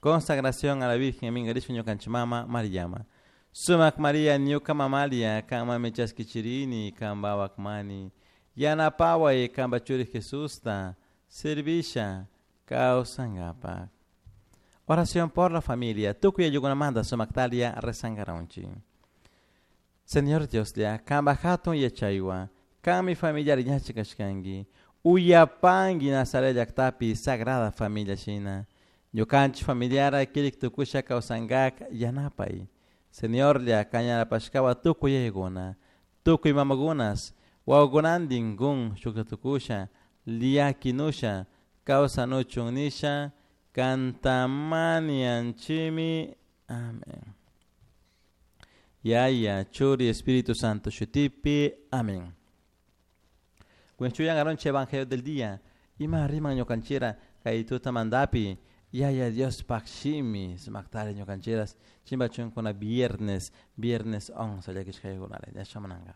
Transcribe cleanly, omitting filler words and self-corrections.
Consagración a la Virgen mingarishpa ñukanchik mama Mariama. Sumak Maria ñuka mamalia kanmanmi chaskichirini kanpawak mani. Yanapaway kanpa churi Jesusta servisha kawsankapak. Oración por la familia. Tukuy ayllukunamanta sumaktalia rezankaranchik. Señor Dioslla, kanpa hatun yachaywan, kanmi familiar yachak kashkanki. Uyapanki Nazaret llaktapi Sagrada Familia shina. Ñukanchik familiara kirik tukusha kawsankak yanapay. Señorlla kan yanapashkawan tukuy yayakuna, tukuy mamakunas, wawakunantin kun shukta tukusha, llakinusha, kawsanuchun nisha, kantamanianchimi. Amén. Yaya, Churi, Espíritu Santo, shutipi. Amén. Kunan aronche Evangelio del día. Ima riman ñukanchira kay tutamantapi. Yaya Diospaj shimi sumaktari ñukanchiras chimbachunkuna viernes, viernes 11 llakishkaykunara ñashamunanka.